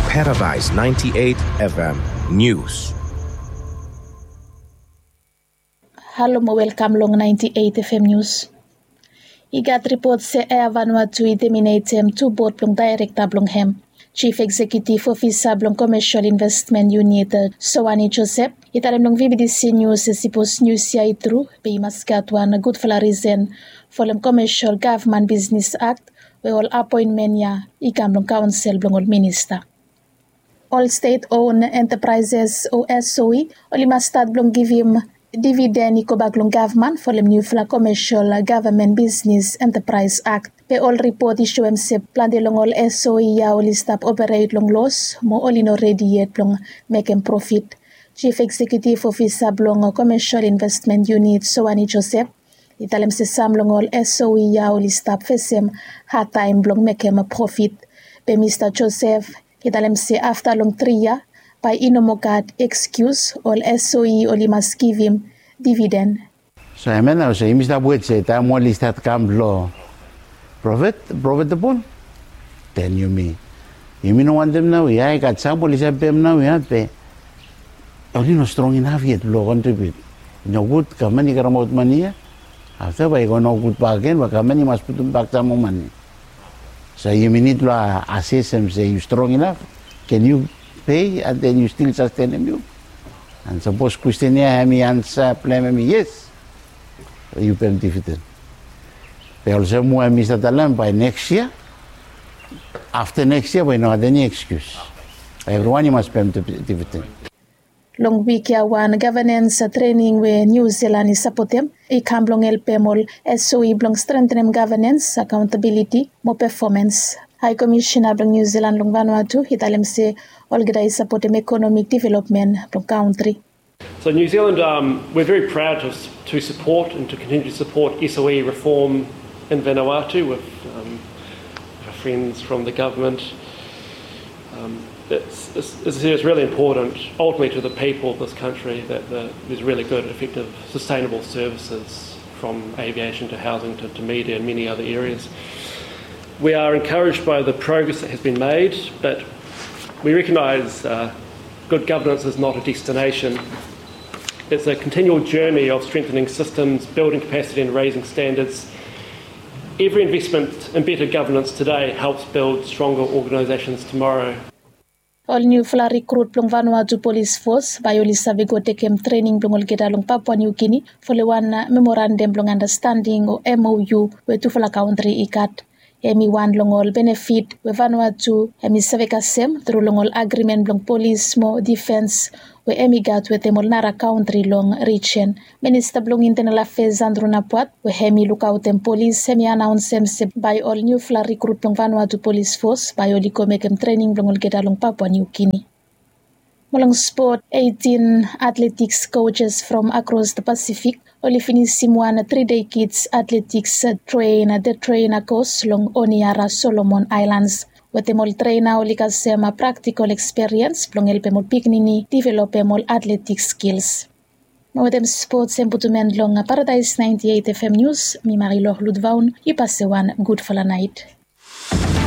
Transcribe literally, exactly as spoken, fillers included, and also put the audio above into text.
Paradise ninety-eight F M News. Halo mo welkam long ninety-eight F M News. I gat ripot se Air Vanuatu i teminetem tu bod blong daerekta blong hem. Chief Eksekutif Ofisa blong Komesial Investmen Yunit, Soani Josep, i talem long V B T C News se sipos nius ya i tru, be i mas gat wan gudfala risen folem Komesial Gavman Bisnis Akt, we ol apoenmen ya i kam long kaonsel blong ol minista. Ol state owned enterprises o S O E oli mas stat blong givim dividen i gobak long gavman folem niufala Komesial Gavman Bisnis Enterprise Akt. Be ol ripot i soem se plante long ol S O E ya oli stap operet long los mo oli no redi yet blong mekem profit. Chief Eksekutif Ofisa blong Komesial Investmen Yunit, Soani Josep, i talem se sam long ol S O E ya oli stap fesem hadtaem blong mekem profit. Be Mista Josep i talem se afta long tri yia, bae i no moa gat ekskius, ol S O E oli mas givim dividen. So hemia nao se yumi stap wet se taem oli stat kam blong profit, profitable, then yumi, yumi no wantem nao ya, i gat sam oli save pem nao ya, be oli no strong inaf yet blong kontribiut. I nogud gavman i karemaot mane ya, afta bae i go nogud bakegen, bae gavman i mas putum bak sam moa mane. So yumi nid blong asesem se yu strong inaf, ken yu pei and then yu stil sastenem yu. And sapos kwestin ya hemi ansa blong hem hemi yes, yu pem dividen. Be olsem we mi save talem, bae neks yia, afta neks yia bae i no gat eni ekskius. Evriwan i mas pem dividen. Long wik ya wan gavenens trening we Niu Zilan i sapotem i kam blong helpem ol S O E blong strengtenem gavenens, akaontabiliti mo pefomens. Hae Komisena blong Niu Zilan long Vanuatu i talem se olgeta i sapotem ekonomik developmen blong kantri. So New Zealand, um, we're very proud to, to support and to continue to support S O E reform in Vanuatu with, um, our friends from the government. Um, it's, it's, it's really important, ultimately, to the people of this country that the, there's really good, effective, sustainable services from aviation to housing to, to media and many other areas. We are encouraged by the progress that has been made, but we recognise, uh, good governance is not a destination. It's a continual journey of strengthening systems, building capacity and raising standards. Every investment in better governance today helps build stronger organisations tomorrow. Ol niufala rikrut blong Vanuatu Polis Fos bae oli save go tekem trening blong olgeta long Papua Niu Gini folem wan memorandam blong andastanding o M O U we tufala kantri i gat. Hemi wan long ol benefit we Vanuatu hemi save kasem tru long ol agrimen blong polis mo difens we hemi gat wetem ol nara kantri long rijen. Minista blong Intenal Afeas Andrew Napuat, we hemi lukaotem polis, hemi anaonsem se bae ol niufala rikrut blong Vanuatu Polis Fos bae oli go mekem trening blong olgeta long Papua Niu Gini. Mo long spot, eitin atletiks kojes from akros the Pasifik oli finisim wan tri dei kids atletiks tren, the trainer kos long Honiara, Solomon Aelans. Wetem ol trena oli kasem praktikol ekspiriens blong helpem ol pikinini developem ol atletiks skils. Mo wetem spots hem putum en long Paradise ninety eight F M News, mi Marilou Lutvaun i pasem wan gudfala naet.